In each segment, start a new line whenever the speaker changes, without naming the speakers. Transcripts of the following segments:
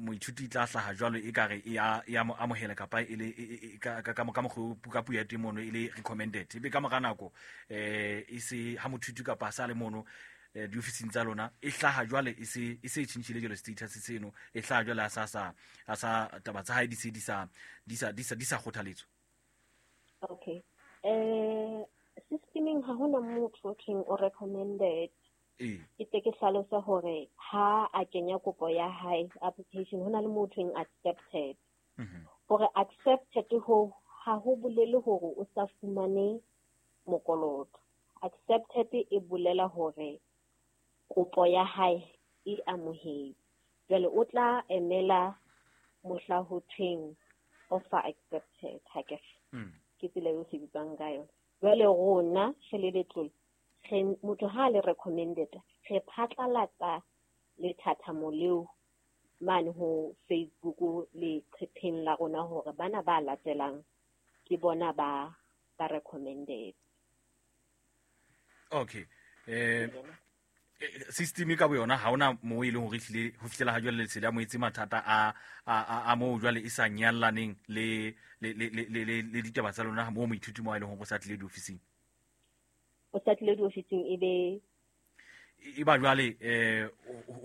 Moithuti tla hlaha jwalo e kare e ya mo amohela kapa e le ka mokgwa ka puo ya teng mono e le recommended, ebe ka mora nako e se ha moithuti kapa sa le mono diofising tsa lona e hlaha jwale e se e se tjhentjhile jwale status seno, e hlaha jwale a sa taba tsa hae di se di sa kgothaletswa.
Okay, systemeng ha hona motho o thweng o recommended. Ke tle ke hlalose hore ha a kenya kopo ya hae, application, ho na le motho thweng accepted. Hore accepted ho ha ho bolele hore o sa fumane mokoloto. Accepted e bolela hore kopo ya hae e amohetswe. Jwale o tla emela mohla ho thweng offer accepted, ha ke ke tsela eo sebetsang ka yona. Jwale rona re le letlole, re motho ha le recommended, re phatlalatsa lethathamo leo mane ho Facebook leqepheng la rona hore bana ba latelang ke bona ba recommended.
Okay, system ka boyona ha ona moo e leng hore ehlile ho fihlela ha jwale lesedi a moetse mathata a moo jwale e sa nyallaneng le ditaba tsa lona moo moithuti mo a leng hore o sa tlile diofising.
O sa tlile diofising e be
E ba jwale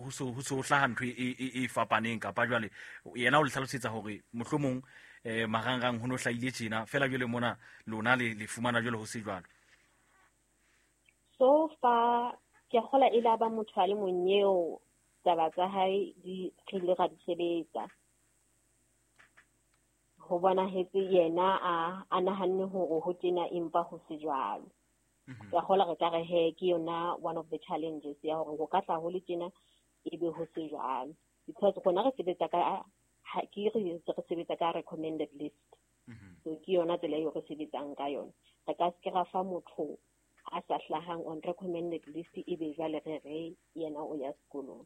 ho so hlaha ntho e fapaneng, kapa jwale yena o le hlalosetsa hore mohlomong marangrang ho no hlahile tjena fela, jwale mona lona le fumana jwale ho se jwalo.
So far ke kgola e la ba motho a le mong eo taba tsa hae di re ile ra di sebetsa, ho bonahetse yena a nahanne hore ho tjena empa ho se jwalo. Ke a kgola re ka re he ke yona one of the challenges ya hore ho ka tla ho le tjena ebe ho se jwalo, because rona re sebetsa ka ke re sebetsa ka recommended list. So ke yona tsela eo re sebetsang ka yona. Re ka se ke ra fa motho a sa hlahang on recommended list ebe jwale re yena o ya sekolong.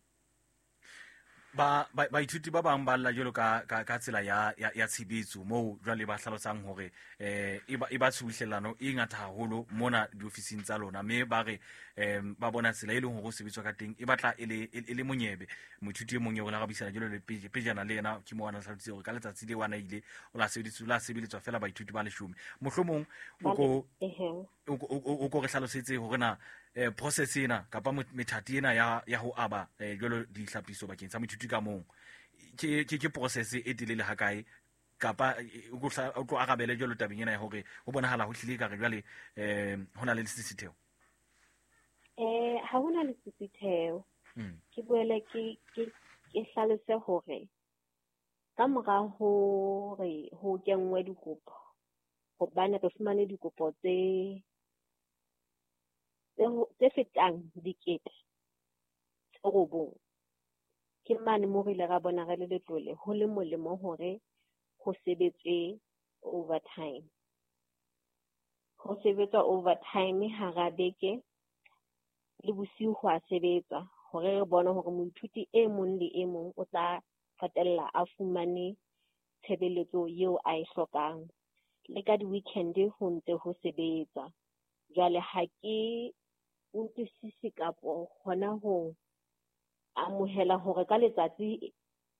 Ba baithuti ba bang ba lla jwalo ka tsela ya tshebetso moo jwale ba hlalosang hore e ba tshubuhlellano e ngata haholo mona diofising tsa lona, mme ba re ba bona tsela e leng hore ho sebetswa ka teng e batla e le monyebe. Moithuti e mong eo re la ra buisana jwalo le pejana le yena ke mo ana hlalositse hore ka letsatsi le wana ile o la sebeditswe la sebeletswa fela baithuti ba 10. Mohlomong o ko re hlalosetse hore na process ena kapa methati ena ya ho aba jwalo dihlapiso bakeng sa moithuti ka mong ke process e telele hakae, kapa o tlo arabele jwalo tabeng ena ya hore ho bonahala ho hlile ka re jwale ho na le lesisitheho.
Ha hona lesisitheho. Ke boele ke hlalose hore ka mora hore ho kenngwe dikopo, hobane re fumane dikopo tse fetang 9,000, ke mane moo re ile ra bona re le letlole ho le molemo hore ho sebetswe overtime. Ho sebetswa overtime hara beke le bosiu ho a sebetswa hore re bone hore moithuti e mong le e mong o tla qetella a fumane tshebeletso eo a e hlokang. Le ka di-weekend ho ntse ho sebetswa. Jwale ha ke utlwisise kapo hona ho amohela hore ka letsatsi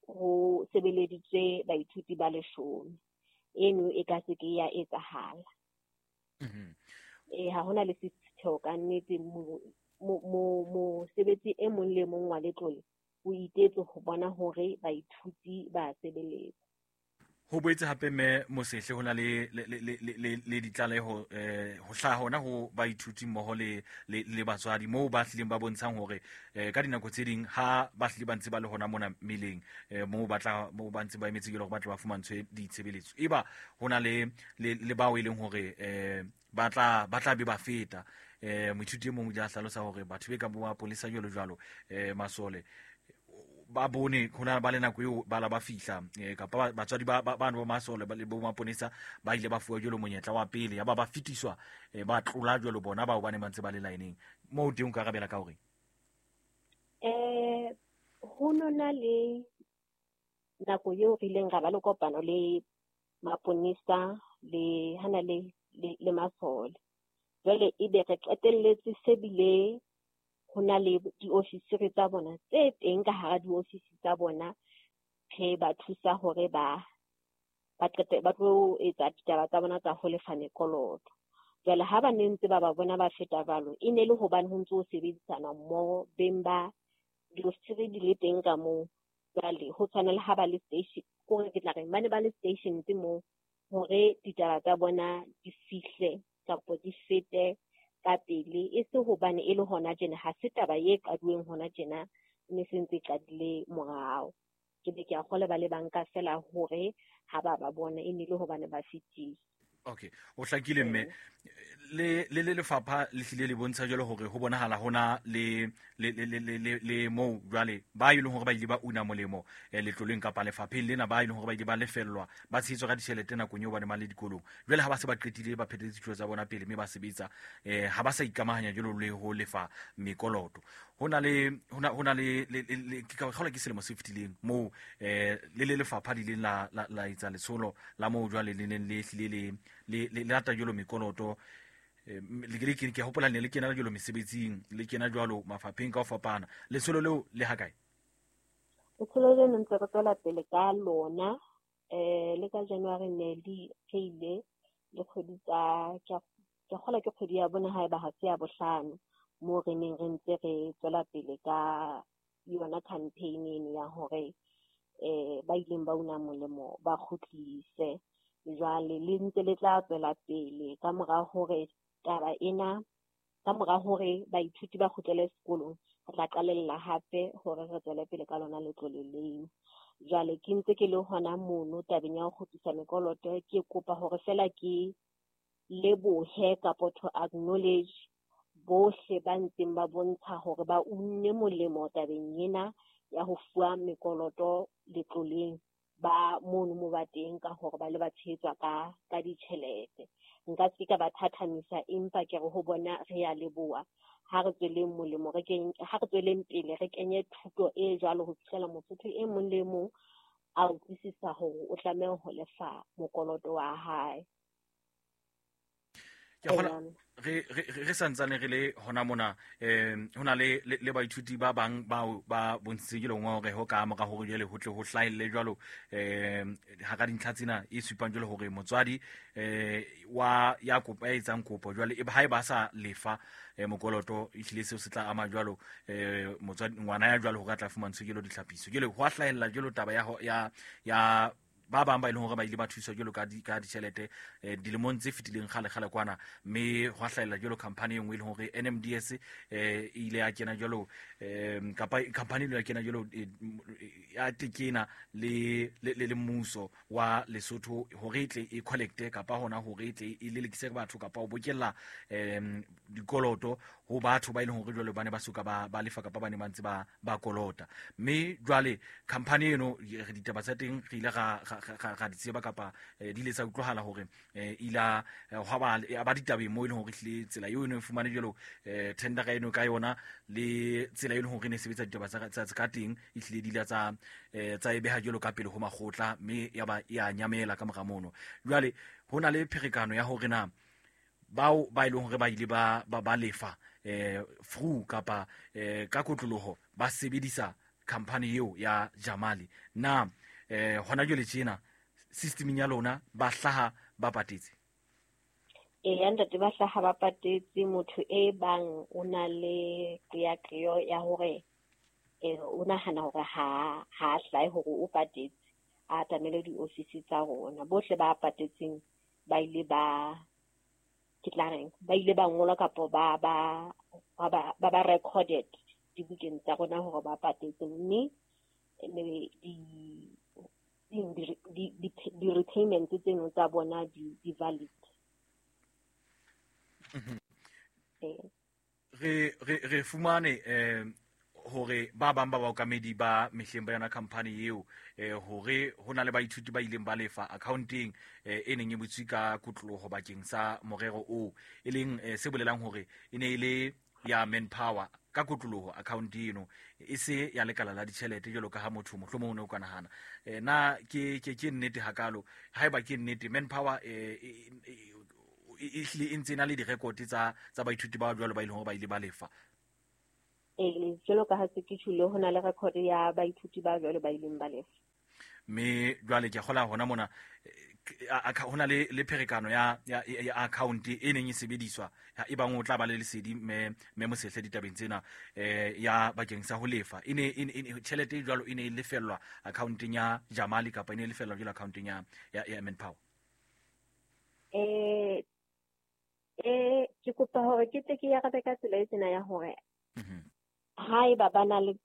ho sebeleditswe baithuti ba 10. Eno e ka se ke ya etsahala. Ha hona le sesisitheho ka nnete. Mosebetsi e mong le mong wa letlole o itetse ho bona hore baithuti ba sebeletswa.
Ho boetse hape, mme Mosehle, ho na le ditlaleho ho hlaha hona ho baithuti mmoho le batswadi moo ba hlileng ba bontshang hore ka dinako tse ding ha ba hlile ba ntse ba le hona mona meleng moo ba tla moo ba ntse ba emetse jwalo hore ba tle ba fumantshwe ditshebeletso, eba ho na le bao e leng hore ba tla be ba feta. Moithuti e mong o ile a hlalosa hore batho be ka bo mapolesa jwalo jwalo, masole, ba bone ho na ba le nako eo ba la ba fihla kapa batswadi ba bano ba masole le bo maponesa ba ile ba fuwa jwalo monyetla wa pele, ya ba ba fetiswa, ba tlola jwalo bona bao ba ne ba ntse ba le line-eng moo teng. O ka arabela ka hore
Ho nona le nako eo re ileng ra ba le kopano le maponesa le hana le masole. Jwale ebe re qetelletse se bile ho na le diofisiri tsa bona tse teng ka hara diofisi tsa bona. pay ba thusa hore ba qete ba tlo etsa ditaba tsa bona tsa ho lefa mekoloto. Jwale ha ba ne ntse ba ba bona ba feta jwalo, e ne le hobane ho ntse ho sebedisana mmoho beng ba diofisiri di le teng ka moo. Jwale ho tshwana le ha ba le station, kore ke tla reng ba ne ba le stations moo hore ditaba tsa bona di fihle kapa di fete ka pele, e se hobane e le hona tjena, ha se taba e qaduweng hona tjena, e ne se ntse e qadile morao. Ke be ke a kgolwa ba le banka fela hore ha ba ba bona e ne le hobane ba fetile.
Okay, o hlakile mme. Le le lefapha le hlile le bontsha jwalo hore ho bonahala hona le le le le le le moo jwale ba e leng hore ba ile ba una molemo letloleng kapa lefapheng lena, ba e leng hore ba ile ba lefellwa ba tshehetswa ka ditjhelete nakong eo ba ne ba le dikolong. Jwale ha ba se ba qetile ba phethetse dithuto tsa bona pele mme ba sebetsa, ha ba sa ikamahanya jwalo le ho lefa mekoloto. Ho na le ho na le ke ka kgolwa ke selemo se fetileng moo le le lefapha le ileng la etsa letsholo la moo jwale le neng le hlile le lata jwalo mekoloto. Le ke hopola ne le kena jwalo mesebetsing, le kena jwalo mafapheng ka ho fapana. Letsholo leo le ha kae?
Letsholo leno ntse re tswela pele ka lona. Le ka January ne le pheile le kgwedi tsa, ke kgolwa ke kgwedi ya bone haeba ha se ya bohlano, moo re neng re ntse re tswela pele ka yona campaign eno ya hore ba ileng ba una molemo ba kgutlise. Jwale le ntse le tla tswela pele ka mora hore taba ena, ka mora hore baithuti ba kgutlele sekolong, re tla qalella hape hore re tswele pele ka lona letlole leo. Jwale ke ntse ke le hona mono tabeng ya ho kgutlisa mekoloto, ke kopa hore fela ke lebohe kapo to acknowledge bohle ba ntseng ba bontsha hore ba unne molemo tabeng ena ya ho fuwa mekoloto letloleng ba mono mo ba teng, ka hore ba le ba tshehetswa ka ditjhelete. Nka se ka ba thathamisa, empa ke re ho bona re ya leboha. Ha re tsweleng molemo, re ha re tsweleng pele re kenye thuto e jwalo ho fihlela Mosotho e mong le mong a utlwisisa hore o tlameha ho lefa mokoloto wa hae.
Ke kgola re santsane re le hona mona, ho na le baithuti ba bang bao ba bontshitseng ke ngongoreho ka mora hore jwale ho tle ho hlahelle jwalo hara dintlha tsena e supang jwalo hore motswadi wa ya kopo ya etsang kopo jwale e ha e ba sa lefa mokoloto, ehlile seo se tla ama jwalo motswadi ngwana ya jwalo hore a tla fumantshwe jwalo ditlhapiso. Jwale ho a hlahella jwalo taba ya ba bang ba e leng hore ba ile ba thuswa jwalo ka ditjhelete dilemong tse fetileng kgale kgale kwana, mme hwa hlahella jwalo company e nngwe e leng hore NMDS e ile ya kena jwalo, kapa company ile ya kena jwalo ya tekena le mmuso wa Lesotho hore e tle e collecte kapa hona hore e tle e lelekise batho kapa ho bokella dikoloto ho batho ba e leng hore jwale ba ne ba soka ba lefa kapa ba ne ba ntse ba kolota. Mme jwale company eno re ditaba tsa teng re ile ra di tseba kapa di ile tsa utlwahala hore ila hwa ba ditabeng moo e leng hore ehlile tsela eo e ne e fumane jwalo tendera eno ka yona le tsela e leng hore e ne e sebetsa ditaba tsa ka teng, ehlile di ile tsa e beha jwalo ka pele ho makgotla, mme ya ba ya nyamela ka mora mono. Jwale ho na le pherekano ya hore na bao ba e leng hore ba ile ba lefa through kapa ka kotloloho ba sebedisa company eo ya Jamali, na hona jwale tjena systemeng ya lona ba hlaha ba patetse?
Eya ntate, ba hlaha ba patetse. Motho e bang o na le qeaqeo ya hore o nahana hore ha hlahe hore o patetse, a atamele diofisi tsa rona. Bohle ba patetseng ba ile ba, ke tla reng, ba ile ba ngolwa kapo ba recorded dibukeng tsa rona hore ba patetse, mme di-repayments tseno tsa bona di valid.
Re fumane hore ba bang ba baokamedi ba mehleng ba yona company eo hore ho na le baithuti ba ileng ba lefa accounteng e neng e butswe ka kotloloho bakeng sa morero oo, e leng se bolelang hore e ne e le ya manpower ka kotloloho account eno, e se ya lekala la ditjhelete jwalo ka ha motho mohlomong o ne o ka nahana. Na ke nnete hakalo? Haeba ke nnete, manpower e hlile e ntse e na le direkote tsa baithuti ba jwalo ba ileng hore ba ile ba lefa?
Ee, jwalo ka ha se ke tjholo, ho na le record ya baithuti ba jwalo ba ileng ba lefa.
Mme jwale ke a kgola hona mona ho na le pherekano ya account e neng e sebediswa e bang o tla ba le lesedi mme Mosehle ditabeng tsena ya bakeng sa ho lefa e ne tjhelete e jwalo e ne e lefellwa accounteng ya Jamali kapa e ne e lefellwa jwalo accounteng ya Manpower.
Ke kopa hore ke tle ke arabe ka tsela e tsena ya hore haeba ba na le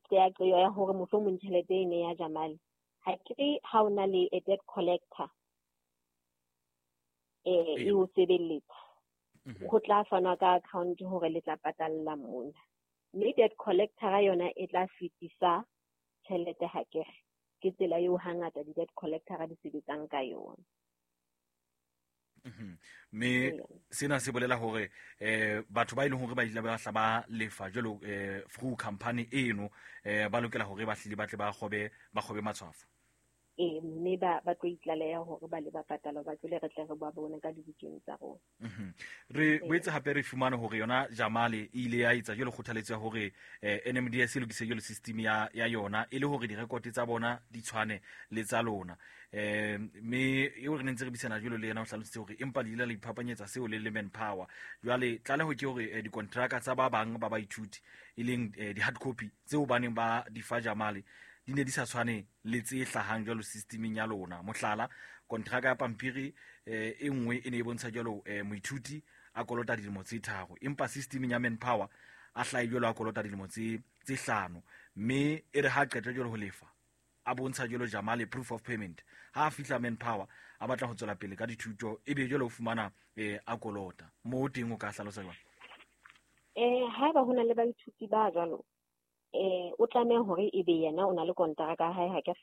qeaqeo ya hore mohlomong tjhelete e ne ya Jamali, ha ke re ha o na le a debt collector e o sebeletsa, ho tla fanwa ka account hore le tla patalla mona, mme debt collector yona e tla fetisa tjhelete. Ha ke re ke tsela eo hangata di-debt collector di sebetsang ka yona.
Mme sena se bolela hore batho ba e leng hore ba ile ba hla ba lefa jwalo through company eno ba lokela hore ba hlile ba tle ba kgobe matshwafo.
Mme ba tlo itlaleha hore ba le ba patala, ba tlole re tle re ba bone ka dibukeng tsa rona.
Re boetse hape re fumane hore yona Jamali e ile ya etsa jwalo kgothaletso ya hore NMDS e lokise jwalo system ya yona e le hore direkote tsa bona di tshwane le tsa lona. Mme eo re ne ntse re buisana jwalo le yena o hlalositse hore empa le ile la iphapanyetsa seo le Manpower. Jwale tlaleho ke hore dikontraka tsa ba bang ba baithuti e leng di-hard copy tseo ba neng ba di fa Jamali di ne di sa tshwane le tse hlahang jwalo systemeng ya lona. Mohlala, kontraka ya pampiri e nngwe e ne e bontsha jwalo moithuti a kolota dilemo tse 3, empa systemeng ya Manpower a hlahe jwalo a kolota dilemo tse 5, mme e re ha qeta jwalo ho lefa a bontsha jwalo Jamali proof of payment. Ha a fihla Manpower a batla ho tswela pele ka dithuto, ebe jwalo o fumana a kolota. Moo teng o ka hlalosa jwang?
Haeba ho na le baithuti ba jwalo, o tlameha hore ebe yena o na le kontraka ya hae, ha ke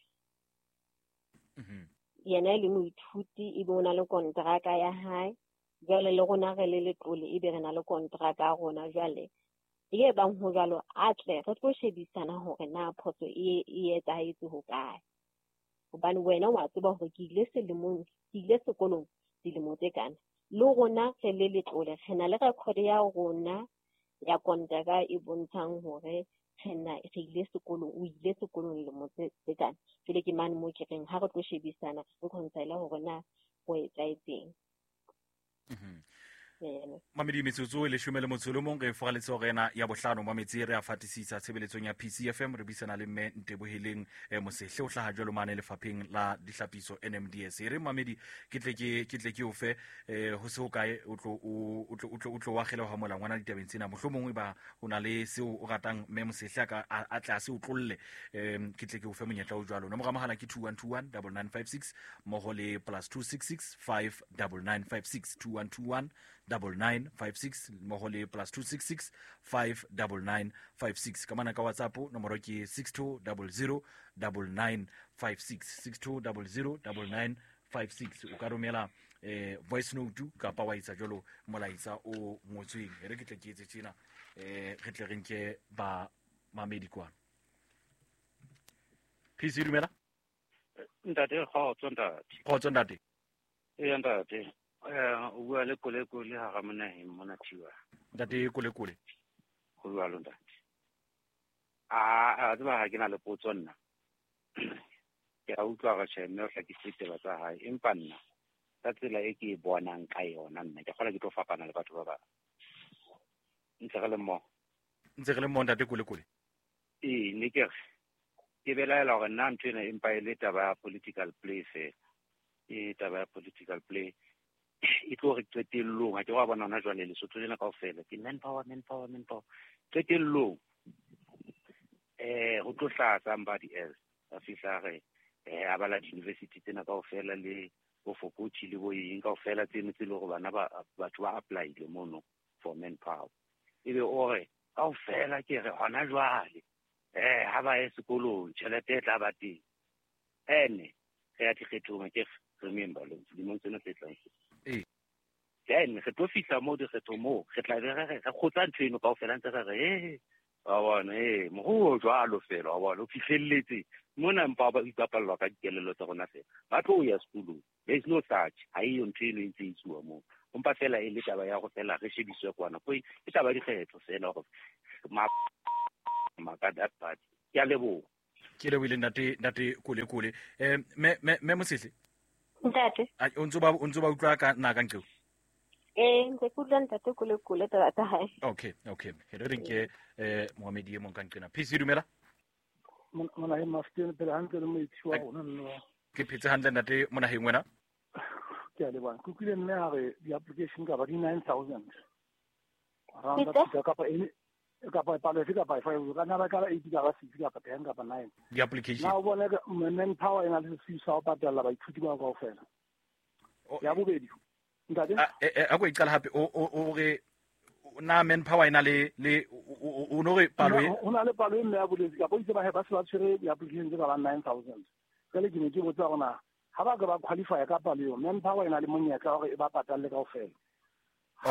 yena e le moithuti ebe o na le kontraka ya hae. Jwale le rona re le letlole ebe re na le kontraka ya rona. Jwale e bang ho jwalo, a tle re tlo shebisana hore na phoso e etsahetse ho kae, hobane wena wa tseba hore ke ile sekolong dilemo tse kana, le rona re le letlole re na le record ya rona ya kontraka e bontshang hore re ile sekolong, o ile sekolong lemo tse kana. Jwale ke mane moo ke reng ha re tlo shebisana re reconcile hore na ho etsahetseng.
Mamedi metsotso e 11 re foraletse hore ena ya bohlano mametsi re a fatisisa tshebeletsong ya PCFM. Re buisana le mme Nteboheleng Mosehle o hlaha jwalo mane lefapheng la dihlapiso NMDS. E re mamedi ke tle ke o fe ho se ho kae o tlo wa kgeleha mola ngwana ditabeng tsena, mohlomongwe ba o na le seo o ratang mme Mosehle a tle a se o tlolle, ke tle ke o fe monyetla o jwalo. Nomoro ya mohala ke 2121 9956 mmoho le +266 59956 2121 9956 mmoho le +266 59956. Ka mana ka WhatsApp nomoro ke 6200 9956 6200 9956. O ka romela voice note kapa wa etsa jwalo molaetsa o ngotsweng. E re ke tle ke etse tjena, re tle re nke ba mamedi kwana. PC dumela
ntate. Kgotso ntate.
Kgotso ntate.
Ee ntate. O bua le Kolekole ha ga monaheng mona Thiwa.
Ntate Kolekole.
Ho jwalo ntate. A tseba ha ke na le potso nna. Ke a utlwa re tjhe mme o hlakisitse taba tsa hae, empa nna ka tsela e ke e bonang ka yona nna ke kgola ke tlo fapana le batho ba bang. Ntse re le mmoho.
Ntse re le mmoho ntate Kolekole.
Ee, ne ke re ke belaela hore nna ntho ena empa e le taba ya political play fela. E taba ya political play e tlo re qetellong, ha ke wa bona hona jwale Lesotho lena kaofela ke manpower manpower manpower. Qetellong ho tlo hlaha somebody else a fihla re a bala di-university tsena kaofela le bo Fokotsi le bo eng kaofela tseno tse le hore bana ba batho ba apply-ile mono for manpower. Ebe o re kaofela ke re hona jwale ha ba ye sekolong tjhelete e tla ba teng. Ene re ya dikgethong, ke remember lemong tsena tse tlang. Then re tlo fihla moo dikgethong moo re tla be re kgotsa ntho eno kaofela ntse re re wa bona moruo jwalo fela, wa bona o fihlelletse mona, mpa ba ipapallwa ka dikelello tsa rona fela. Ba tlo ya sekolong, there is no such, ha eyo ntho eno e ntse e etsuwa moo. Empa fela e le taba ya go fela re shebiswe kwana, ke taba ya dikgetho fela hore maka that part. Ke a leboha.
Ke lebohile ntate Kole Kole. Me Mosehle.
Ntate.
O ntso ba utlwa ka na ka nqeo?
Ntse ke utlwa ntate Kole Kole taba tsa hae.
Okay. Re re nke Mohamedi e mong ka nqena. PC dumela.
Monaheng Mafuteng pele hantle le moetsi wa rona nno.
Ke phetse hantle ntate Monaheng wena?
Ke a leboha. Ke utlwile mme a re di-application kapa di 9,000. Round up kapa ene kapa palo efe kapa efe, ka nna ba ka ba 8 kapa 6 kapa 10 kapa 9.
Di-application.
Na o bone manpower e na le sesiu sa ho patalla baithuti bao kaofela. Ya bobedi. Ntate?
A ko e qala hape o re na manpower e na le o no re palo e
ho na le palo e mme ya boletse kapa itse ba he ba se ba tshwere di-application tse ka bang 9,000. Jwale ke ne ke botsa hore na ha ba ka ba qualify ka palo eo, manpower e na le monyetla hore e ba patalle kaofela.